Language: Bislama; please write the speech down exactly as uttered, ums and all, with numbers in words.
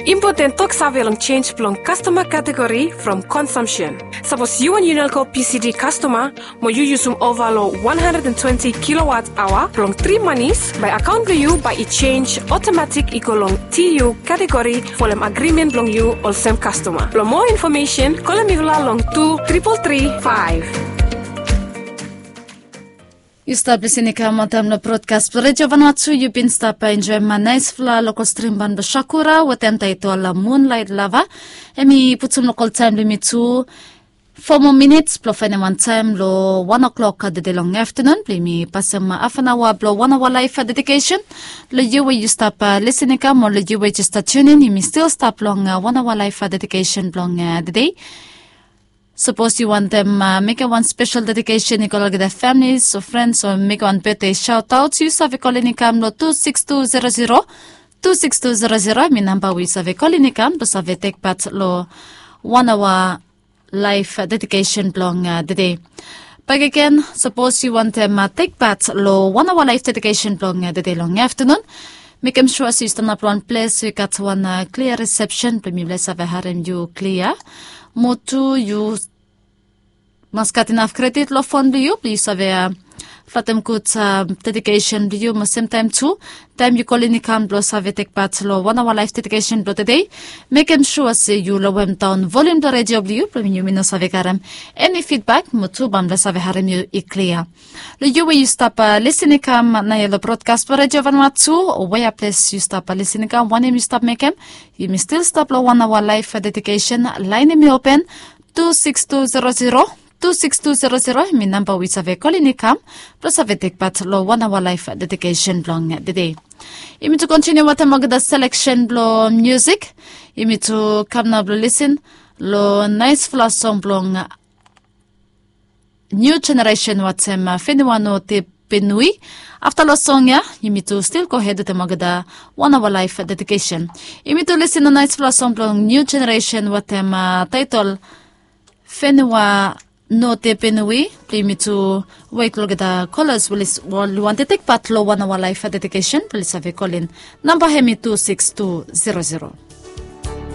Impoten toksave long sens blong kastoma kategori from konsumsen. Sapos yu wan Unelco P C D kastoma mo yu yusum ova long wan handred and twenti kilowat aoa blong tri manis, bae akaon blong yu bae i sens otomatik i go long T U kategori folem agrimen blong yu olsem kastoma. Blong moa infomesen, kolem mifala long tu tripol tri faef. Yu stap lisin i kam wantaem long brodkas blong Redio Vanuatu. Yu bin stap enjoem naesfala lokol strim ban blong Sakura wetem taetol Moonlight Lover. Hemi putum lokol taem blong yumi tu fo moa minits blong faenem wan taem long wan o'clock tede long aftenun blong yumi pasem hafanaoa blong wan aoa laef dedikesen. Long yu we yu stap lisin i kam o long yu we jes stap tiunin, yumi stil stap long wan aoa laef dedikesen blong tede. Sapos yu wantem mekem wan spesel dedikesen i go long olgeta familis o frens o mekem wan betde saotaot, yu save kolin i kam long tu sikis tu zero zero. Tu sikis tu zero zero hemi namba we yu save kolin i kam blong save tekpat long wan aoa laef dedikesen blong tede. Bakegen, sapos yu wantem tekpat long wan aoa laef dedikesen blong tede long aftenun, mekem sua se yu stanap long wan ples we i gat wan klia risepsen blong mifala i save harem yu klia. Mo tu yu mas gat inaf kredit long fon blong yu blong yu save flatem gud dedikesen blong yu. Mo semtaem tu, taem yu kolin i kam blong save tekpat long wan aoa laef dedikesen blong tede, mekem sua se yu lowem daon volium blong redio blong yu blong yumi no save karem eni fidbak mo tu bae mifala save harem yu i klia. Long yu we yu stap lisin i kam naoia long brodkas blong Redio Vanuatu, o wea ples yu stap lisin i kam, wanem yu stap mekem, yumi stil stap long wan aoa laef dedikesen. Laen hemi open, tu sikis tu zero zero. Tu sikis tu zero zero hemi namba we yu save kolin i kam blong save tekpat long wan aoa laef dedikesen blong tede. Yumi tu kontiniu wetem olgeta seleksen blong musik. Yumi tu kam nao blong lisin long naesfala song blong New Generation wetem Fenua No Te Penui. Afta long song ya, yumi tu stil gohed wetem olgeta wan aoa laef dedikesen. Yumi tu lisin long naesfala song blong New Generation wetem taetol Fenua No Te Penui. Blong yumi tu wet long olgeta kolas we oli wantem tekpat long wan aoa laef dedikesen blong oli save kolin. Namba hemi tu sikis tu zero zero.